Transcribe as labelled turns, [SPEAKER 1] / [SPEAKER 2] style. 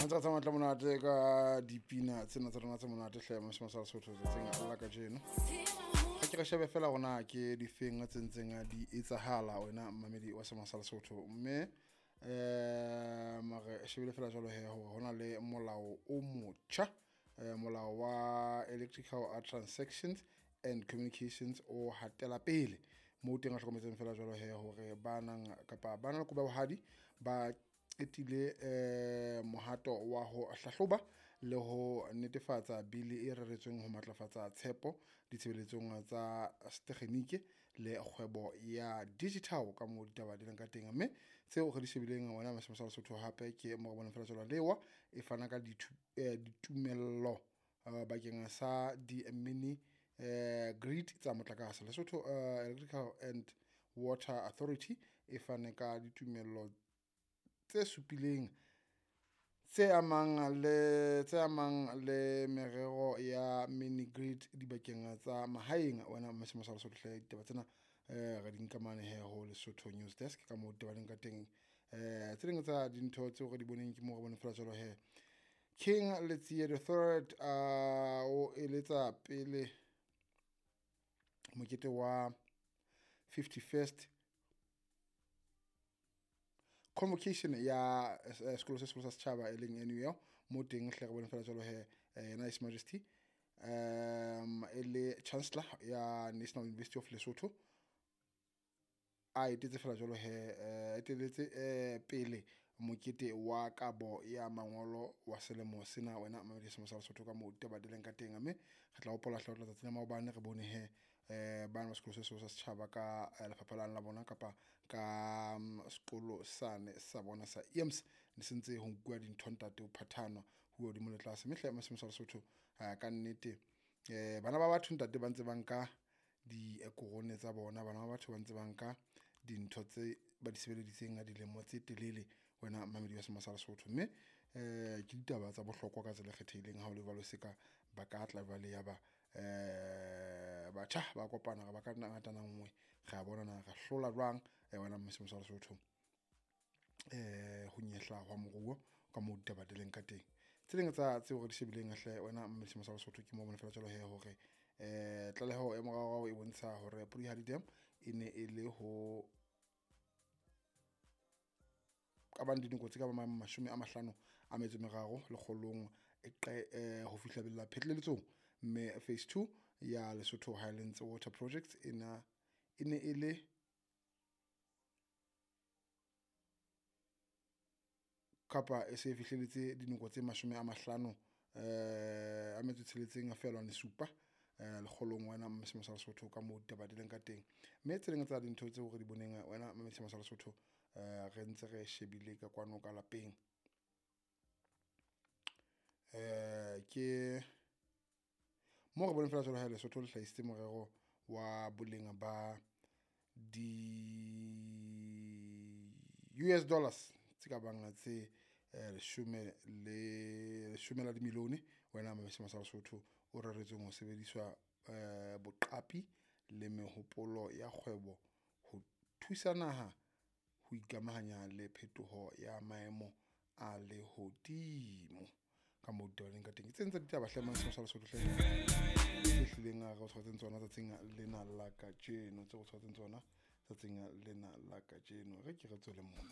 [SPEAKER 1] Ntse re tsamaya tla monate ka dipina tsena tsa rona tse monate hle masimo sa Lesotho tsatsing la kajeno. Ga ke re shebe fela gona ke difeng tse ntseng di etsahala wena mmamedi wa sema sa Lesotho, mme mare shebile fela jwalo he hore hona le molao o motjha, molao wa electrical transactions and communications o hatela pele mo teng a hlokometseng fela jwalo he hore ba nang kapa ba na le kobo ya bohadi ba qetile mohato wa ho hlahloba le ho netefatsa bili e reretsweng ho matlafatsa tshepo ditshebeletsong tsa setekgenike le kgwebo ya digital ka moo ditaba di leng ka teng. Mme tseo re di shebileng wena Masimo sa Lesotho hape ke mo re boneng fela jwalo lewa e fana ka ditumello bakeng sa di-mini grid tsa motlakase. Lesotho Electrical and Water Authority e fane ka ditumello tse supileng tse amang le merero ya mini grid dibakeng tsa mahaeng. Wena Masimo sa Lesotho hle ditaba tsena re di nka mane he ho Lesotho News Desk ka moo ditaba di leng ka teng. Tse ding tsa dintho tseo re di boneng ke moo re boneng fela jwalo he King Letsie the Third o eletsa pele mokete wa 51st convocation ya sekolo se seholo sa setjhaba e leng NUL mo teng hle re bone fela jwalo he yena His Majesty e le chancellor ya National University of Lesotho a etetse fela jwalo he eteletse pele mokete wa kabo ya mangolo wa selemo sena wena mamedi sa Lesotho ka moo ditaba di leng ka teng. Mme re tla hopola hle ho tla tsatsing la maobane re bone he bana ba sekolo se seholo sa setjhaba ka lefapha lane la bona kapa ka sekolo sane sa bona sa EMS ne se ntse ho nkuwa dintho ntate ho phathanwa ho hodimo le tlase. Mme hle Masimo sa Lesotho ka nnete bana ba batho ntate ba ntse ba nka dikorone tsa bona, bana ba batho ba ntse ba nka dintho tse ba di sebeleditseng dilemo tse telele wena mamedi wa Sema sa Lesotho. Mme ke ditaba tsa bohlokwa ka tsela e kgethehileng ha o le jwalo se ka ba ka tla jwale ya ba batjha ba kopana re ba ka ngatana nngwe re a bona na re hlola jwang wena Masimo sa Lesotho ho nyehla hwa moruo ka moo ditaba di leng ka teng. Tse ding tsa tseo re di shebileng hle wena Masimo sa Lesotho ke moo bona fela jwalo he hore tlaleho ya moraorao e bontsha hore Polihali Dam e ne e le ho ka bang dinoko tse ka bang 53 lekgolong e ho fihla bella phetleletsong, mme phase 2 ya Lesotho Highlands Water Project e ne e le kapa e se fihlelletse dinoko tse 56.7 lekgolong wena Masimo sa Lesotho ka moo ditaba di leng ka teng. Mme tse ding tsa dintho tseo re di boneng wena Masimo sa Lesotho re ntse re shebile ka kwano ka lapeng ke mo re boneng fela jwalo ha Lesotho le hlahisitse morero wa boleng ba di US dollars tse ka bang tse 10 la dimilione wena Masimo sa Lesotho o reretsweng ho sebediswa boqapi le mehopolo ya kgwebo ho thusa naha ho ikamahanya le phetoho ya maemo a lehodimo ka moo ditaba leng ka teng. Tse ntse ditaba hle Masimo sa Lesotho hle tse hlileng re o tshwaretseng tsona tsatsing lena la kajeno, tse o tshwaretseng tsona tsatsing lena la kajeno. Re ke re tswele mona.